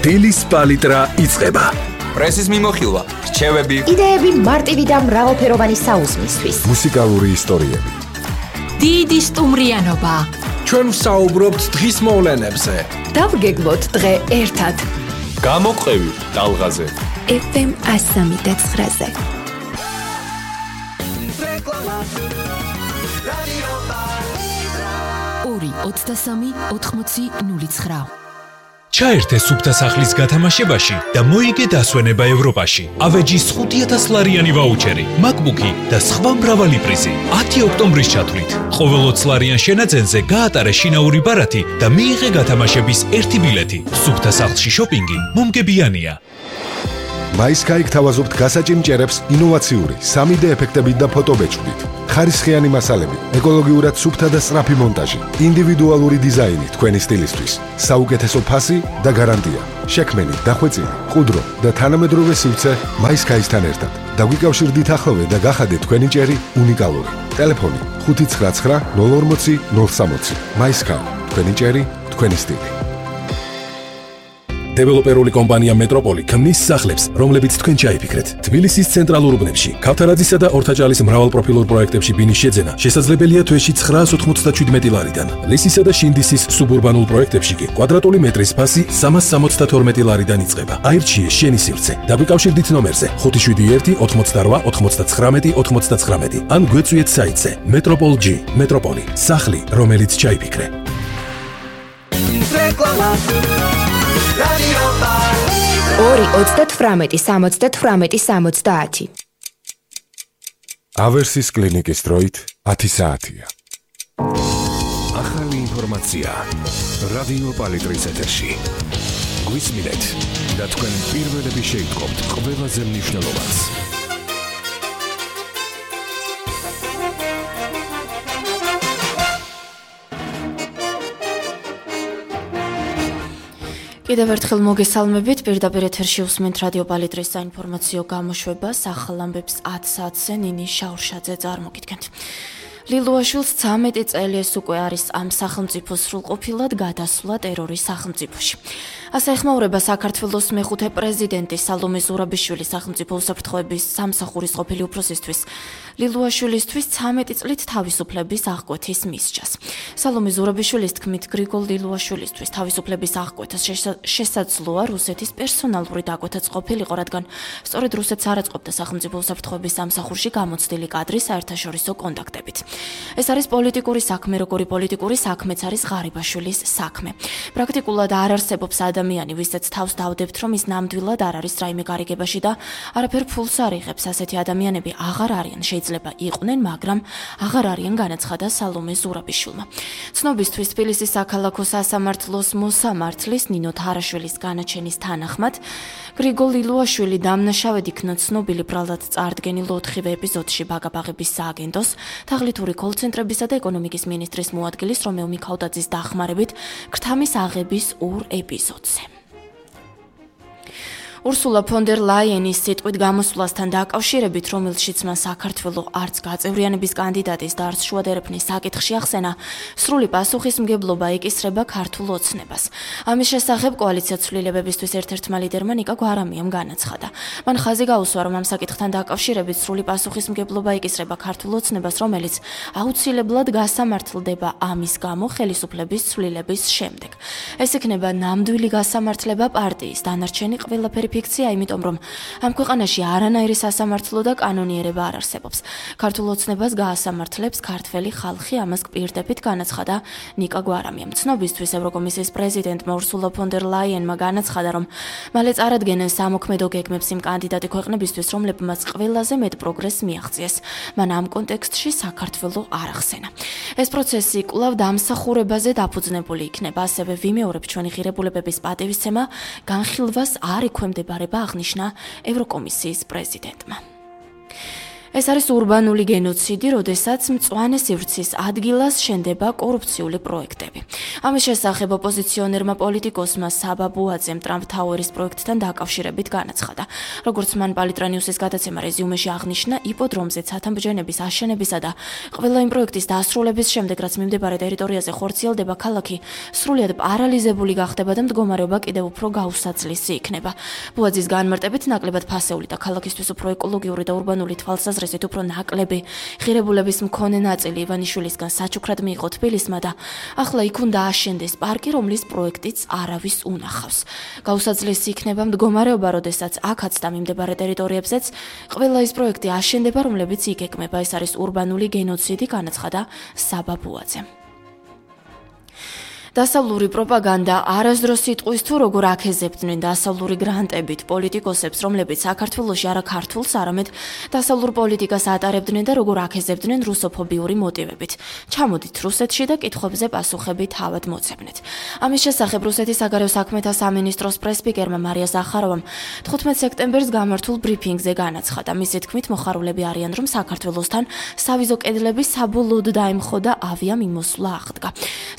დილის პალიტრა იწყება. პრესის მიმოხილვა, რჩევები, იდეები მარტივი და მრავალფეროვანი საუზმისთვის. მუსიკალური ისტორიები. დიდი სტუმრიანობა. ჩვენ ვსაუბრობთ დღის მოვლენებზე. დავგეგმოთ დღე ერთად. გამოყევი ტალღაზე. FM 103.9-ზე. 2-23-80-09. ჩაერთე სუფთა სახლის გათამაშებაში და მოიგე დასვენება ევროპაში. ავეჯის 5,000 ლარიანი ვაუჩერი, MacBook-ი და სხვა მრავალი პრიზი. 10 ოქტომბრის ჩათვლით. ყოველ 20 ლარიან შენაძენზე გაატარე შინაური ბარათი და მიიღე გათამაშების ერთი ბილეთი. სუფთა სახლში შოპინგი მომგებიანია. MySky გთავაზობთ გასაჭიმ ჭერებს ინოვაციური 3D ეფექტებით და ფოტობეჭდით. ხარისხიანი მასალები, ეკოლოგიურად სუფთა და სწრაფი მონტაჟი, ინდივიდუალური დიზაინი თქვენი სტილისთვის, საუკეთესო ფასი და გარანტია. შექმენი, დახვეწილი, ყუდრო და თანამედროვე სივრცე MySky-სთან ერთად. დაგვიკავშირდით ახლოვე და გახადეთ თქვენი ჭერი უნიკალური. ტელეფონი 599 040 060. MySky, თქვენი ჭერი, თქვენი სტილი. დეველოპერული კომპანია მეტროპოლი ქმნის სახლებს, რომლებიც თქვენ ჩაიფიქრეთ. თბილისის ცენტრალურ უბნებში, ქავთარაძისა და ორთაჭალის მრავალპროფილურ პროექტებში ბინის შეძენა შესაძლებელია თვეში 997 ლარიდან. ლისისა და შინდისის სუბურბანულ პროექტებში კი კვადრატული მეტრის ფასი 372 ლარიდან იწყება. აირჩიე შენი სივრცე. დაგვიკავშირდით ნომერზე 571 88 99 99 ან გვეწვიეთ საიტზე Metropol.G. მეტროპოლი, სახლი, რომელიც ჩაიფიქრე. Radio Palitra 2-28-70-70. ავერსის კლინიკის დროით 10 საათია. ახალი ინფორმაცია რადიო პალიტრის ეთერში. გვისმინეთ და თქვენ პირველები შეიტყობთ ყველაზე მნიშვნელოვანს. კიდევ ერთხელ მოგესალმებით, პირდაპირ ეთერში უსმენთ რადიო პალიტრის საინფორმაციო გამოშვებას, ახალ ამბებს 10 საათზე ნინი შაურშაძე წარმოგიდგენთ. ლილუაშვილს 13 წელი ეს უკვე არის ამ სახელმწიფოს სრულყოფილად გადასვლა ტერორის სახელმწიფოში. ასე ეხმაურება საქართველოს მეხუთე პრეზიდენტი სალომე ზურაბიშვილის სახელმწიფო უსაფრთხოების სამსახურის ყოფილი უფროსისთვის ლილუაშვილისთვის 13 წლით თავისუფლების აღკვეთის მისჯას. სალომე ზურაბიშვილის თქმით, გრიგოლ ლილუაშვილისთვის თავისუფლების აღკვეთას შესაძლოა რუსეთის პერსონალური დაკვეთაც ყოფილიყო, რადგან სწორედ რუსეთს არ აწყობდა სახელმწიფო უსაფრთხოების სამსახურში გამოცდილი კადრი საერთაშორისო კონტაქტებით. ეს არის პოლიტიკური საქმე, როგორი პოლიტიკური საქმეც არის ღარიბაშვილის საქმე. პრაქტიკულად არ არსებობს ადამიანი, ვისაც თავს დავდებთ, რომ ის ნამდვილად არ არის რაიმე გარიგებაში და არაფერ ფულს არ იღებს. ასეთი ადამიანები აღარ არიან, შეიძლება იყვნენ, მაგრამ აღარ არიან, განაცხადა სალომე ზურაბიშვილმა. ცნობისთვის თბილისის საქალაქო სასამართლოს მოსამართლის ნინო თარაშვილის განაჩენის თანახმად, გრიგოლ ლილუაშვილი დამნაშავედ იქნა ცნობილი ბრალად წარდგენილ 4 ეპიზოდში ბაგაბაღების სააგენტოს, თაღლითური კოლცენტრებისა და ეკონომიკის მინისტრის მოადგილის რომელ მიქაუტაძის დახმარებით ქრთამის აღების 2 ეპიზოდზე. ურსულა ფონ დერ ლაიენის სიტყვით გამოსვლასთან დაკავშირებით, რომელშიც მან საქართველოს არც გაწევრიანების კანდიდატის და არც შუადერეფნის საკითხში ახსენა, სრული პასუხისმგებლობა ეკისრება ქართულ ოცნებას. ამის შესახებ კოალიცია ცვლილებებისთვის ერთ-ერთმა ლიდერმა ნიკა გვარამიამ განაცხადა. მან ხაზი გაუსვა, რომ ამ საკითხთან დაკავშირებით სრული პასუხისმგებლობა ეკისრება ქართულ ოცნებას, რომელიც აუცილებლად გასამართლდება ამის გამო ხელისუფლების ცვლილების შემდეგ. ეს იქნება ნამდვილი გასამართლება პარტიის, დანარჩენი ყველაფერი ფიქცია, იმიტომ რომ ამ ქვეყანაში არანაირი სასამართლო და კანონიერება არ არსებობს. ქართულ ოცნებას გაასამართლებს ქართველი ხალხი, ამას გპირდებით, განაცხადა ნიკა გვარამიამ. ცნობისთვის ევროკომისიის პრეზიდენტმა ურსულა ფონ დერ ლაიენმა განაცხადა, რომ მალე წარადგენენ სამოქმედო გეგმებს იმ კანდიდატი ქვეყნებისთვის, რომლებმაც ყველაზე მეტ პროგრესს მიაღწიეს. მან ამ კონტექსტში საქართველოს არ ახსენა. ეს პროცესი კვლავ დამსახურებაზე დაფუძნებული იქნება, ასევე ვიმეორებ ჩვენი ღირებულებების პატივისცემა განხილვას არ ექვემდებარება, აღნიშნა ევროკომისიის პრეზიდენტმა. ეს არის ურბანული გენოციდი, როდესაც მწვანე სივრცის ადგილას შენდება კორუფციული პროექტები. ამის შესახებ ოპოზიციონერმა პოლიტიკოსმა საბა ბუაძემ ტრამპ თაუერის პროექტთან დაკავშირებით განაცხადა. როგორც მან პალიტრანიუსის გადაცემა რეზიუმეში აღნიშნა, იპოდრომზე ცათამბჯენების აშენებისა და ყველა იმ პროექტის დასრულების შემდეგ, რაც მიმდებარე ტერიტორიაზე ხორციელდება, ქალაქი სრულიად პარალიზებული გახდება და მდგომარეობა კიდევ უფრო გაუსაცლისი იქნება. ბუაძის განმარტებით, ნაკლებად ფასეული და ქალაქისთვის უფრო ეკოლოგიური და ურბანული თვალსაზრისით უფრო ნაკლები ღირებულების მქონე ნაწილი ივანიშვილისგან საჩუქრად მიიღო თბილისმა და ახლა იქ უნდა აშენდეს პარკი, რომლის პროექტიც არავის უნახავს. გაუსაცლისი იქნება მდგომარეობა, როდესაც აქაც და მიმდებარე ტერიტორიებზეც ყველა ის პროექტი აშენდება, რომლებიც იგეგმება. ეს არის ურბანული გენოციდი, განაცხადა საბა ბუაძემ. დასავლური პროპაგანდა არასდროს იტყვის თუ როგორ აქეზებდნენ დასავლური გრანტებით პოლიტიკოსებს, რომლებიც საქართველოში არა ქართულს, არამედ დასავლურ პოლიტიკას ატარებდნენ და როგორ აქეზებდნენ რუსოფობიური მოტივებით. ჩამოდით რუსეთში და კითხვებზე პასუხები თავად მოცემნეთ. ამის შესახებ რუსეთის საგარეო საქმეთა სამინისტროს პრესპიკერმა მარია ზახაროვამ 15 სექტემბერს გამართულ ბრიფინგზე განაცხადა. მისი თქმით, მოხარულები არიან, რომ საქართველოსთან სავიზო კედლები საბოლოოდ დაემხო და ავიამიმოსვლა აღდგა.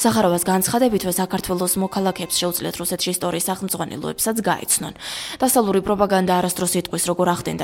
ზახაროვას განცხადა საქართველოს მოქალაქეებს შეუძლიათ რუსეთში ისტორიის სახელმძღვანელოებსაც გაეცნონ. დასავლური პროპაგანდა არასდროს იტყვის, როგორ ახდენდა